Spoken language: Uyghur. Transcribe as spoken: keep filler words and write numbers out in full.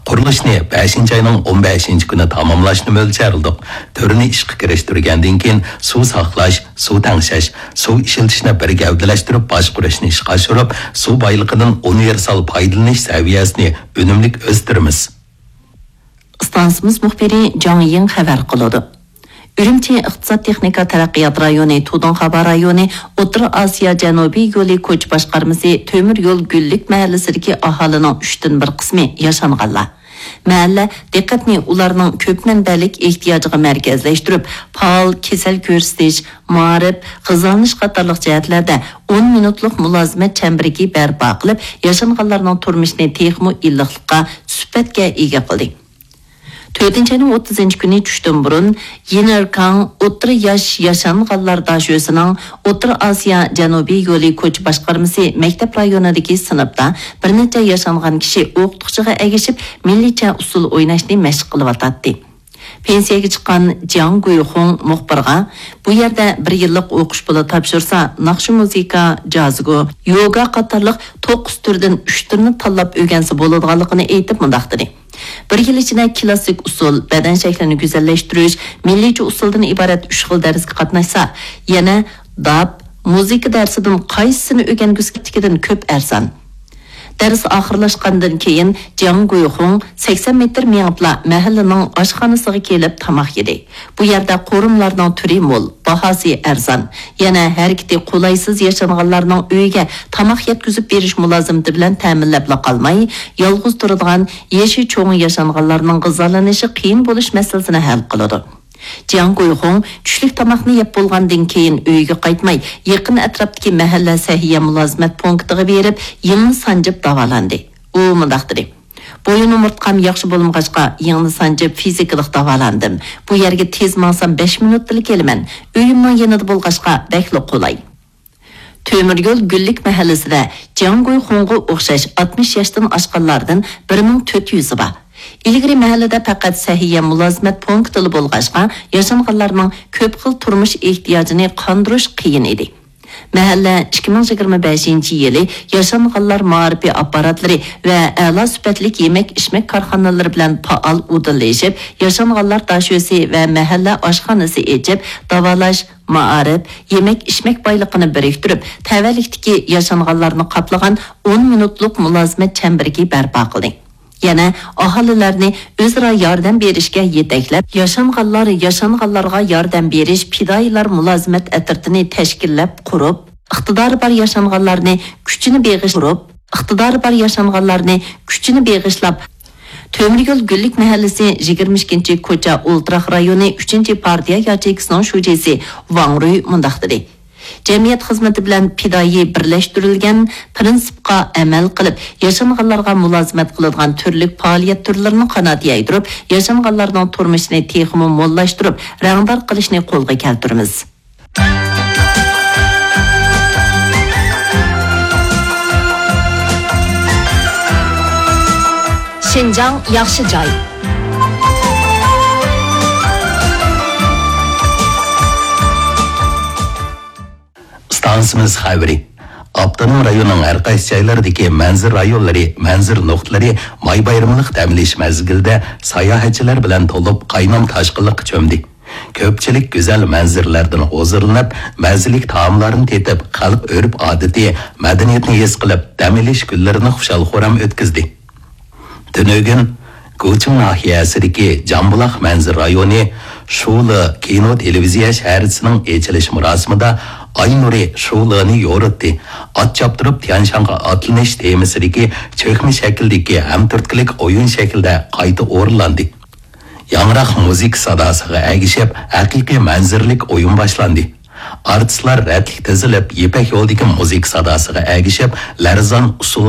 قۇرۇلۇشنى بەشىنچى ئاينىڭ ئون بەشىنچى كۈنى تاماملاشنى مۆلچەرلىدۇق. تۈرنى ئىشقا كىرىشتۈرگەندىن كېيىن، سۇ ساقلاش، سۇ تەڭشەش، سۇ ئىشلىتىشنى بىر گەۋدىلەشتۈرۈپ باشقۇرۇشنى ئىشقا ئاشۇرۇپ، سۇ بايلىقىدىن ئۇنىۋېرسال پايدىلىنىش سەۋىيەسىنى ئۈنۈملۈك ئۆستۈرىمىز. ئىستانسىمىز مۇخبىرى جاڭ يىڭ خەۋەر قىلىدۇ. ئۈرۈمچى ئىقتىساد تېخنىكا تەرەققىيات رايونى تۇدۇڭخابا رايونى ئوتتۇرا ئاسىيا جەنۇبىي يولى كوچا باشقارمىسى تۆمۈر يول گۈللۈك مەھەللىسىدىكى ئاھالىنىڭ ئۈچتىن بىر قىسمى ياشانغانلار. مەھەللە دىققەتنى ئۇلارنىڭ كۆپ مەنبەلىك ئېھتىياجىغا مەركەزلەشتۈرۈپ، پائال كېسەل كۆرسىتىش، مائارىپ، غىزالىنىش قاتارلىق جەھەتلەردە ئون مىنۇتلۇق مۇلازىمەت چەمبىرىكى بەرپا قىلىپ، ياشانغانلارنىڭ تۇرمۇشىنى تېخىمۇ ئىللىقلىققا، سۈپەتكە ئىگە قىلدى. تۆتىنچى ئاينىڭ ئوتتۇزىنچى كۈنى چۈشتىن بۇرۇن، يىنئېركاڭ ئوتتۇرا ياش ياشانغانلار داشۆسىنىڭ ئوتتۇرا ئاسىيا جەنۇبىي يولى كوچا باشقارمىسى مەكتەپ رايونىدىكى سىنىپتا بىر نەچچە ياشانغان كىشى ئوقۇتقۇچىغا ئەگىشىپ، مىللىيچە ئۇسسۇل ئويناشنى مەشىق قىلىۋاتاتتى. پېنسىيەگە چىققان جياڭ گۇيخۇڭ مۇخبىرغا، بۇ يەردە بىر يىللىق ئوقۇش پۇلى تاپشۇرسا، ناخشا، مۇزىكا، جازگو، يوگا قاتارلىق توققۇز تۈردىن ئۈچ تۈرنى تاللاپ ئۆگەنسە بولىدىغانلىقىنى ئېيتىپ، مۇنداق دېدى: بىر يىل ئىچىدە كلاسسىك ئۇسسۇل، بەدەن شەكلىنى گۈزەللەشتۈرۈش، مىللىيچە ئۇسسۇلدىن ئىبارەت ئۈچ خىل دەرسكە قاتناشسا، يەنە داپ، مۇزىكا دەرسىدىن قايسىسىنى ئۆگەنگۈسى كەلگەندىكىدىن كۆپ ئەرزان. دەرس ئاخىرلاشقاندىن كېيىن، جياڭ گۇيخۇڭ سەكسەن مېتىر مېڭىپلا مەھەللىنىڭ ئاشخانىسىغا كېلىپ تاماق يېدى. بۇ يەردە قورۇملارنىڭ تۈرى مول، باھاسى ئەرزان. يەنە ھەرىكىتى قولايسىز ياشانغانلارنىڭ ئۆيىگە تاماق يەتكۈزۈپ بېرىش مۇلازىمىتى بىلەن تەمىنلەپلا قالماي، يالغۇز تۇرىدىغان يېشى چوڭ ياشانغانلارنىڭ غىزالىنىشى قىيىن بولۇش مەسىلىسىنى ھەل قىلىدۇ. جياڭ گۇيخۇڭ چۈشلۈك تاماقنى يەپ بولغاندىن كېيىن ئۆيىگە قايتماي، يېقىن ئەتراپتىكى مەھەللە سەھىيە مۇلازىمەت پونكىتىغا بېرىپ، يىڭنە سانجىپ داۋالاندى. ئۇ مۇنداق دېدى: بويۇن ئومۇرتقام ياخشى بولمىغاچقا، يىڭنە سانجىپ فىزىكىلىق داۋالاندىم. بۇ يەرگە تېز ماڭسام، بەش مىنۇتتىلا كېلىمەن. ئۆيۈمنىڭ يېنىدا بولغاچقا، بەكلا قولاي. تۆمۈر يول گۈللۈك مەھەللىسىدە جياڭ گۇيخۇڭغا ئوخشاش ئاتمىش ياشتىن ئاشقانلاردىن بىر مىڭ تۆت يۈزى بار. ئىلگىرى مەھەللىدە پەقەت سەھىيە مۇلازىمەت پونكىتىلا بولغاچقا، ياشانغانلارنىڭ كۆپ خىل تۇرمۇش ئېھتىياجىنى قاندۇرۇش قىيىن ئىدى. مەھەللە ئىككى مىڭ يىگىرمە بەشىنچى يىلى ياشانغانلار مائارىپى ئاپپاراتلىرى ۋە ئەلا سۈپەتلىك يېمەك-ئىچمەك كارخانىلىرى بىلەن پائال ئۇدۇللىشىپ، ياشانغانلار داشۆسى ۋە مەھەللە ئاشخانىسى ئېچىپ، داۋالاش، مائارىپ، يېمەك-ئىچمەك بايلىقىنى بىرىكتۈرۈپ، تەۋەلىكتىكى ياشانغانلارنى قاپلىغان ئون مىنۇتلۇق مۇلازىمەت چەمبىرىكى بەرپا قىلدى. يەنە ئاھالىلەرنى ئۆزئارا ياردەم بېرىشكە يېتەكلەپ، ياشانغانلار ياشانغانلارغا ياردەم بېرىش پىدائىيلار مۇلازىمەت ئەترىتىنى تەشكىللەپ قۇرۇپ، ئىقتىدارى بار ياشانغانلارنى كۈچىنى بېغىش-، قۇرۇپ، ئىقتىدارى بار ياشانغانلارنى كۈچىنى بېغىشلاپ، تۆمۈر يول گۈللۈك مەھەللىسى يىگىرمە ئىككىنچى كوچا ئولتۇراق رايونى ئۈچىنچى پارتىيە ياچېيكىسىنىڭ شۇجىسى ۋاڭ رۇي مۇنداق دېدى: جەمئىيەت خىزمىتى بىلەن پىدائىي بىرلەشتۈرۈلگەن پىرىنسىپقا ئەمەل قىلىپ، ياشانغانلارغا مۇلازىمەت قىلىدىغان تۈرلۈك پائالىيەت تۈرلىرىنى قانات يايدۇرۇپ، ياشانغانلارنىڭ تۇرمۇشىنى تېخىمۇ موللاشتۇرۇپ، رەڭدار قىلىشنى قولغا كەلتۈرىمىز. شىنجاڭ ياخشى جاي. ئىستانسىمىز خەۋىرى. ئاپتونوم رايوننىڭ ھەر قايسى جايلىرىدىكى مەنزىرە رايونلىرى، مەنزىرە نۇقتىلىرى ماي بايرىملىق دەم ئېلىش مەزگىلىدە ساياھەتچىلەر بىلەن تولۇپ، قاينام تاشقىنلىققا چۆمدى. كۆپچىلىك گۈزەل مەنزىرىلەردىن ھۇزۇرلىنىپ، مەززىلىك تائاملارنى تېتىپ، خەلق ئۆرپ-ئادىتى، مەدەنىيىتىنى ھېس قىلىپ، دەم ئېلىش كۈنلىرىنى خۇشال-خۇرام ئۆتكۈزدى. تۈنۈگۈن گۇچىڭ ناھىيەسىدىكى جامبۇلاق مەنزىرە رايونى شۇلې كىنو تېلېۋىزىيە شەھەرچىسىنىڭ ئېچىلىش مۇراسىمىدا ئاي نۇرى شۇلېنى يورۇتتى. ئات چاپتۇرۇپ تيانشانغا ئاتلىنىش تېمىسىدىكى چۆكمە شەكىلدىكى ھەمتۈرتكىلىك ئويۇن شەكلىدە قايتا ئورۇنلاندى. ياڭراق مۇزىكا ساداسىغا ئەگىشىپ، ھەقىقىي مەنزىرىلىك ئويۇن باشلاندى. ئارتىسلار رەتلىك تىزىلىپ، يىپەك يولىدىكى مۇزىكا ساداسىغا ئەگىشىپ، لەرزان ئۇسسۇلغا